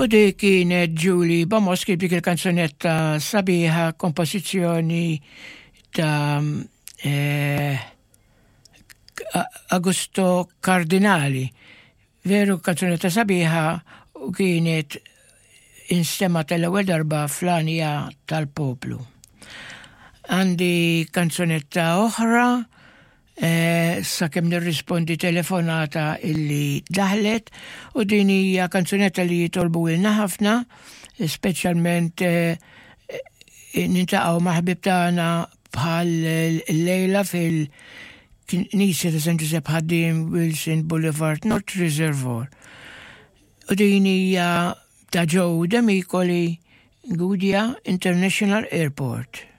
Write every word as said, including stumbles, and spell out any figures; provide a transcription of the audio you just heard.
U dik kienet Julie Bamoski b'dik il-kanzunetta sabiħa, kompożizzjoni ta' eh, Augusto Cardinali. Veru kanzunetta sabiħa u kienet instemgħet l-ewwel darba fl-Għanja tal-Poplu. Għandi kanzunetta oħra, eh, sakemm nirrispondi telefonata illi daħlet, u din hija kanzunetta li jitolbu lilna ħafna, speċjalment eh, niltaqgħu ma' ħbieb tagħna bħal lejla fil-Knisja ta' San Giuseppe Ħaddiem, Wilson Boulevard, North Reservoir. U din hija ta' Joe Demicoli, Gudja International Airport.